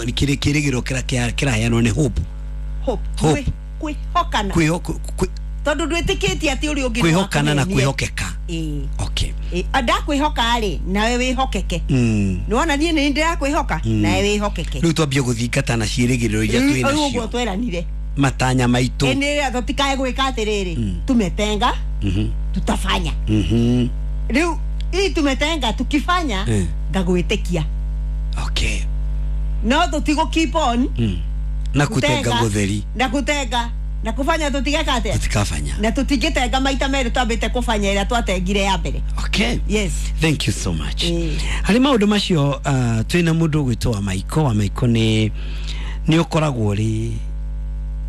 Kĩrĩgĩrĩro kĩrĩa kĩraheanwo nĩ hope. Hope. Hope. Kwĩhokana. Tondũ ndwĩtĩkĩtie atĩ ũrĩa ũngĩ Kwĩhokana na no akũhenie. kwĩhokeka. Ĩĩ. Okay. Ĩĩ, ndakwĩhoka rĩ, nawe wĩhokeke. Nĩwona niĩ nĩ ndĩrakwĩhoka, nawe wĩhokeke. Rĩu twambie gũthingata na ciĩrĩgĩrĩro iria twĩ Rĩu ũguo nacio, tweranire. Matanya maitũ. Ĩnĩ tũtikae gwĩka atĩrĩrĩ, tumetenga, tutafanya. Rĩu hii tumetenga, tukifanya, ngagwĩtĩkia. No tũtigũ keep on Na kutenga gũtheri. Na kutenga na kufanya, tũtigeka atĩa? Tũtikabanya. Na tũtingĩtenga maita merĩ twambĩte kũbanya ĩrĩa twatengire ya mbere. Yes. Thank you so much. Harĩ maũndũ macio, twĩna mũndũ ũgwĩtwo wa Maiko. Wa Maiko nĩ ũkoragwo ũrĩ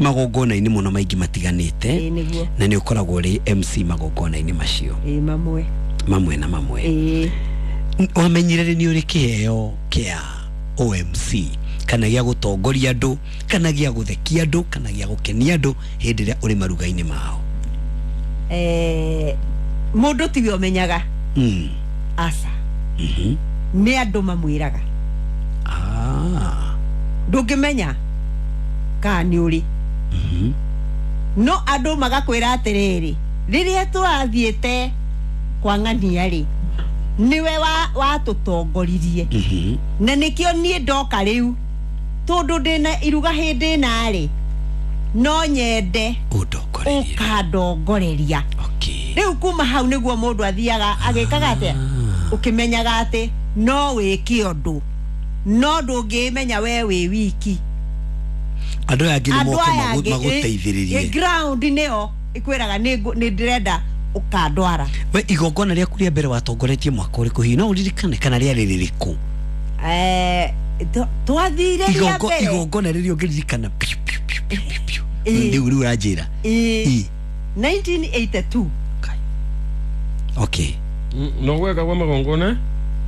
magongona-inĩ mũno maingĩ matiganĩte. Ĩĩ, nĩguo. Na nĩ ũkoragwo ũrĩ MC magongona-inĩ macio. Ĩĩ, mamwe. Mamwe na mamwe. Wamenyire rĩ nĩ ũrĩ kĩheo kĩa OMC, kana gĩa gũtongoria andũ, kana gĩa gũthekia andũ, kana gĩa gũkenia andũ hĩndĩ ĩrĩa ũrĩ maruga-inĩ mao? Mũndũ tiwe ũmenyaga. Aca. Nĩ andũ mamwĩraga. Ndũngĩmenya kana nĩ ũrĩ, no andũ magakwĩra atĩrĩrĩ, rĩrĩa tũrathiĩte kwa ng'ania rĩ, nĩwe watũtongoririe. Na nĩkĩo niĩ ndoka rĩu, tondũ ndĩna iruga hĩndĩ ĩna rĩ, no nyende ũndongorerie. Ũkandongoreria. Rĩu kuma hau nĩguo mũndũ athiaga agĩkaga atĩa, ũkĩmenyaga atĩ no wĩke ũndũ, no ndũngĩmenya we wĩ wiki. Andũ aya angĩ nĩ Andũ moke aya angĩ, magũteithĩrĩrie. Ground nĩyo ĩkwĩraga nĩ ndĩrenda ũkandwara. We igongona rĩaku rĩa mbere watongoretie mwaka ũrĩkũ hihi, no ũririkane, kana rĩarĩ rĩrĩkũ? Twathire rĩa mbere. Igongona rĩrĩa ũngĩririkana piu, piu, piu, piu, piu, piu. Rĩu ũranjĩra. 1982. Kai. Okay. No gweka kwa magongona.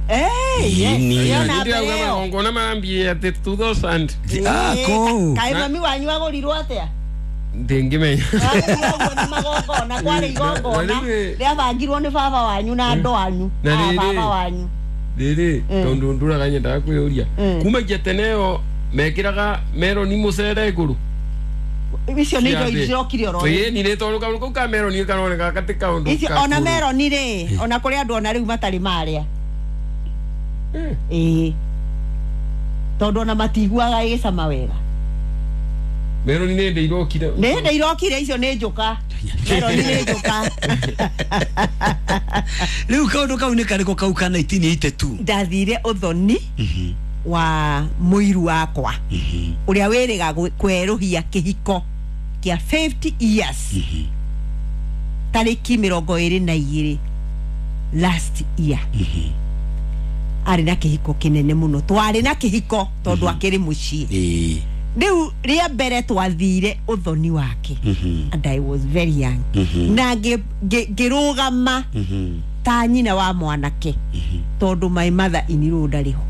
Eh, yes. Nini? Ĩyo na mbere Ndĩrauga ĩyo. magongona mambie atĩ 2000. Ah, kũu. Kaĩ mami wanyu agũrirwo atĩa? Ndĩngĩmenya. Agũrirwo ũguo nĩ magongona, kwarĩ igongona Na rĩu- rĩabangirwo nĩ baba wanyu na andũ anyu. Na Ah, rĩrĩ- baba wanyu. Rĩrĩ, tondũ ndũraga nyendaga kwĩyũria, kumagia tene ĩyo mekĩraga meroni mũcere igũrũ. Icio nĩ indo irokire oro rĩu. Ĩĩ, ni nĩ tondũ kaũndũ kau ka meroni karoneka gatĩ kaũndũ Icio ona kakũrũ. meroni rĩ, ona kũrĩ andũ ona rĩu matarĩ marĩa. Ĩĩ, tondũ ona matiguaga ĩgĩcama wega. Meroni nĩ ndĩ irokire. Nĩ hĩndĩ irokire icio, nĩ njũka, meroni nĩ njũka. Rĩu kaũndũ kau nĩ karĩkũ kau ka 1982? Ndathire ũthoni wa mũiru wakwa ũrĩa wĩrĩga kwerũhia kĩhiko kĩa 50 years tarĩki 22 last year. Arĩ na kĩhiko kĩnene mũno, twarĩ na kĩhiko tondũ akĩrĩ mũciĩ. Rĩu rĩa mbere twathire ũthoni wake, and I was very young, na ngĩrũgama ta nyina wa mwanake, tondũ my mother in law ndarĩ ho.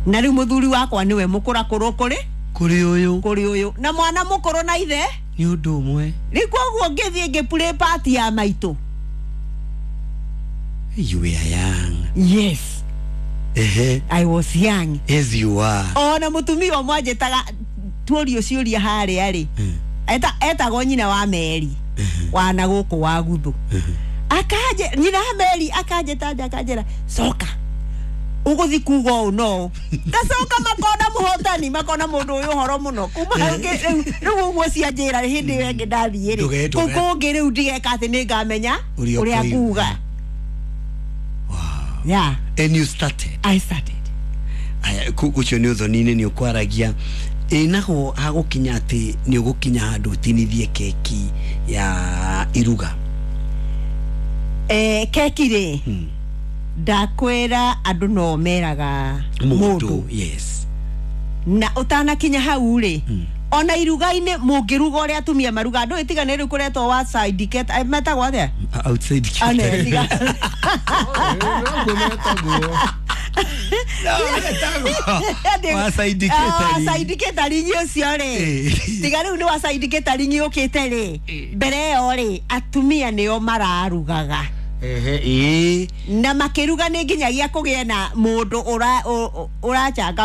Na rĩu mũthuri wakwa nĩwe mũkũrakũrũ kũrĩ Kũrĩ ũyũ. Kũrĩ ũyũ, na mwana mũkũrũ na ithe. Nĩ ũndũ ũmwe. Rĩu koguo ngĩthiĩ ngĩplay part ya maitũ. You were young. Yes. Ehe. I was young. As you are. Ona mũtumia ũmwe anjĩtaga tuorio ciũria harĩa rĩ, etagwo nyina wa Meri wana gũkũ wa guthu, akanje nyina wa Meri akanjĩta nja, akanjĩra, "Coka ũgũthi kuga ũũ no ũũ." Ngacoka makona mũhotani, makona mũndũ ũyũ ũhoro mũno kuma hau rĩu ũguo cianjĩra hĩndĩ ĩyo ĩngĩ ndathiĩ rĩ, kũu kũngĩ rĩu ndigeka atĩ nĩ ngamenya ũrĩa ũrĩa ũkoiga. nguga. Yeah. And you started. I started. Aya, ũcio nĩ ũthoni-inĩ nĩ ũkwaragia ĩ naho hagũkinya atĩ nĩ ũgũkinya handũ ũtinithie keki ya iruga? Keki rĩ, ndakwĩra andũ no meraga mũndũ. Yes. Na ũtanakinya hau rĩ, ona iruga-inĩ mũngĩruga ũrĩa atumia maruga, ndũĩ tiga nĩ rĩu kũretwo wa side metagwo atĩa? Outside. Ane, tiga. Noguo metagwo. Wa side Ah, catering. side catering ũcio rĩ, tiga rĩu nĩ wa side catering ũkĩte rĩ, mbere ĩyo rĩ, atumia nĩo mararugaga. Ehe, ĩĩ. Na makĩruga nĩ nginyagia kũgĩe na mũndũ ũracanga.